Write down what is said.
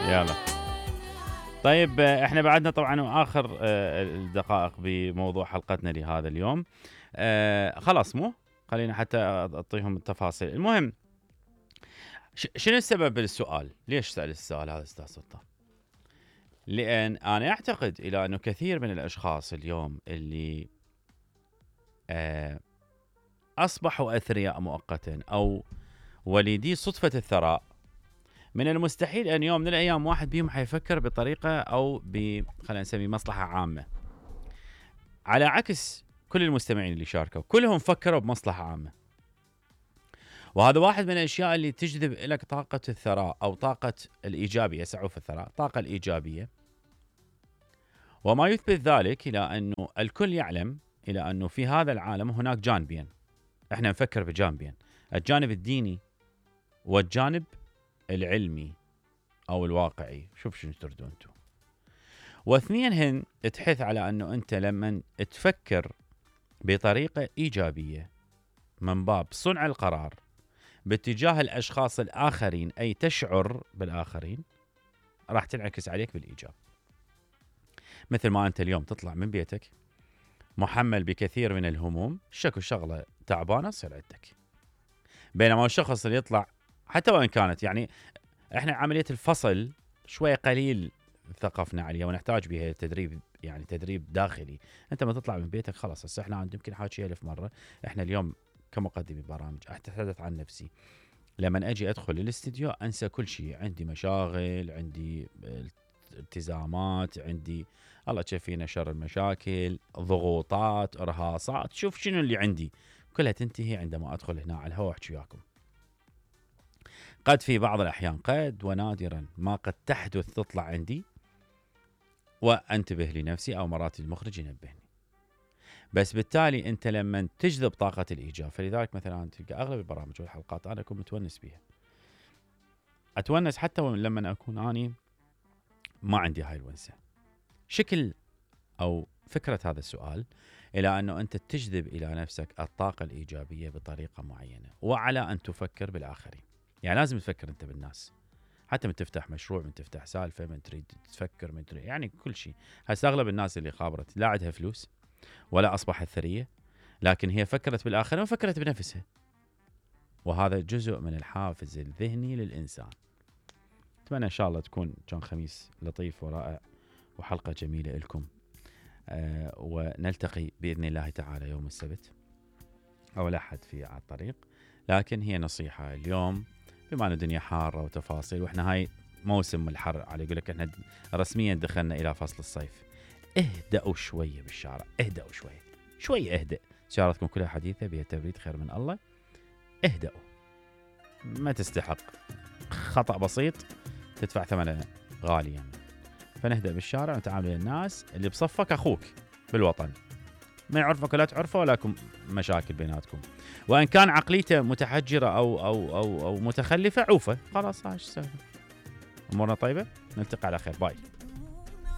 يلا طيب، احنا بعدنا طبعا اخر الدقائق بموضوع حلقتنا لهذا اليوم. خلاص مو خلينا حتى اعطيهم التفاصيل. المهم، شنو السبب للسؤال؟ ليش سأل السؤال هذا استاذ سلطان؟ لان انا اعتقد الى انه كثير من الاشخاص اليوم اللي اصبحوا اثرياء مؤقتا او وليدي صدفة الثراء، من المستحيل ان يوم من الايام واحد بيهم حيفكر بطريقه او خلينا نسمي مصلحه عامه، على عكس كل المستمعين اللي شاركوا كلهم فكروا بمصلحه عامه. وهذا واحد من الاشياء اللي تجذب لك طاقه الثراء او طاقه الايجابيه، سعوف الثراء، الطاقه الايجابيه. وما يثبت ذلك الى انه الكل يعلم الى انه في هذا العالم هناك جانبين، احنا نفكر بجانبين، الجانب الديني والجانب العلمي او الواقعي. شوف شنو تردون انتم. واثنين هن تحث على انه انت لما تفكر بطريقه ايجابيه من باب صنع القرار باتجاه الاشخاص الاخرين، اي تشعر بالاخرين، راح تنعكس عليك بالايجاب. مثل ما انت اليوم تطلع من بيتك محمل بكثير من الهموم، شكو شغله تعبانه تصير عندك، بينما الشخص اللي يطلع حتى وان كانت يعني احنا عمليه الفصل شويه قليل ثقفنا عليها ونحتاج بها تدريب، يعني تدريب داخلي. انت ما تطلع من بيتك خلاص. هسه احنا يمكن حاكي 1000 مره، احنا اليوم كمقدمي برامج اتحدث عن نفسي. لما اجي ادخل الاستديو انسى كل شيء، عندي مشاغل، عندي التزامات، عندي الله تشفينا شر المشاكل، ضغوطات، ارهاصات، شوف شنو اللي عندي، كلها تنتهي عندما ادخل هنا على الهواء واحكي وياكم. قد في بعض الأحيان، قد ونادرا ما قد تحدث تطلع عندي وأنتبه لنفسي أو مرات المخرج ينبهني. بس بالتالي أنت لما تجذب طاقة الإيجاب، فلذلك مثلا تلقى أغلب البرامج والحلقات أنا أكون متونس بيها، أتونس حتى لما أكون أني ما عندي هاي الونسة. شكل أو فكرة هذا السؤال إلى أنه أنت تجذب إلى نفسك الطاقة الإيجابية بطريقة معينة، وعلى أن تفكر بالآخرين. يعني لازم تفكر انت بالناس، حتى من تفتح مشروع، من تفتح سالفه، من تريد تفكر، من تريد يعني كل شيء. هسه اغلب الناس اللي خابرت لا عندها فلوس ولا اصبحت ثريه، لكن هي فكرت بالاخرين وفكرت بنفسها، وهذا جزء من الحافز الذهني للانسان. اتمنى ان شاء الله تكون كان خميس لطيف ورائع وحلقه جميله لكم. ونلتقي باذن الله تعالى يوم السبت او الاحد في على الطريق. لكن هي نصيحه اليوم، بما ان الدنيا حاره وتفاصيل، واحنا هاي موسم الحر، على يقول لك احنا رسميا دخلنا الى فصل الصيف. اهدأوا شويه بالشارع، اهدأوا شويه اهدأ. سيارتكم كلها حديثه بها تبريد خير من الله. اهدأوا، ما تستحق، خطأ بسيط تدفع ثمنه غاليا. فنهدأ بالشارع ونتعامل مع الناس اللي بصفك، اخوك بالوطن، ما يعرفك ولا تعرفه، ولكم مشاكل بيناتكم. وان كان عقليته متحجره او متخلفه، عوفه خلاص. هاش سهل. امورنا طيبه، نلتقي على خير. باي.